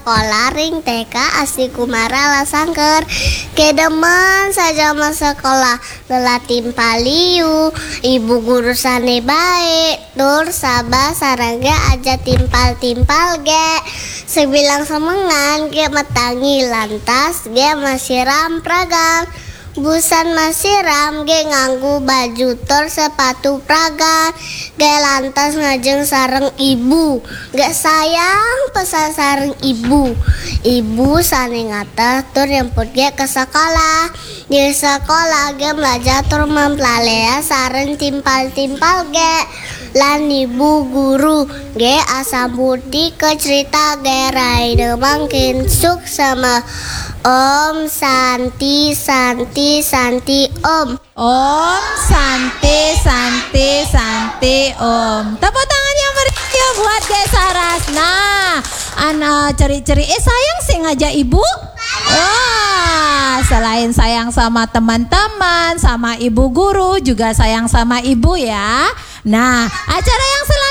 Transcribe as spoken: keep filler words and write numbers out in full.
Sekolah ring T K Asti Kumara Lasangker. Kedemen saja masekolah, lelah timpal liu, ibu guru sane baik, tur sabas sareng ge aja timpal-timpal ge. Sebilang semengan ge matangi, lantas ge masiram pragan. Busan masiram ge nganggo baju tur sepatu pragan. Ge lantas ngajeng sareng ibu. Ge sayang pesan sareng ibu. Ibu sane ngateh tur nyemput ge ke sekolah. Di sekolah ge mlajah tur memplalea sareng timpal-timpal ge. Lan ibu guru ge asambut ke cerita ge raine mangkin suksma. Om Santi, Santi, Santi, Om. Om Santi, Santi, Santi, Om. Tepuk tangan yang meriah buat Ge Saras. Nah, anak ceri-ceri, eh, sayang sih ngajak ibu. Wah, selain sayang sama teman-teman, sama ibu guru, juga sayang sama ibu ya. Nah, acara yang selanjutnya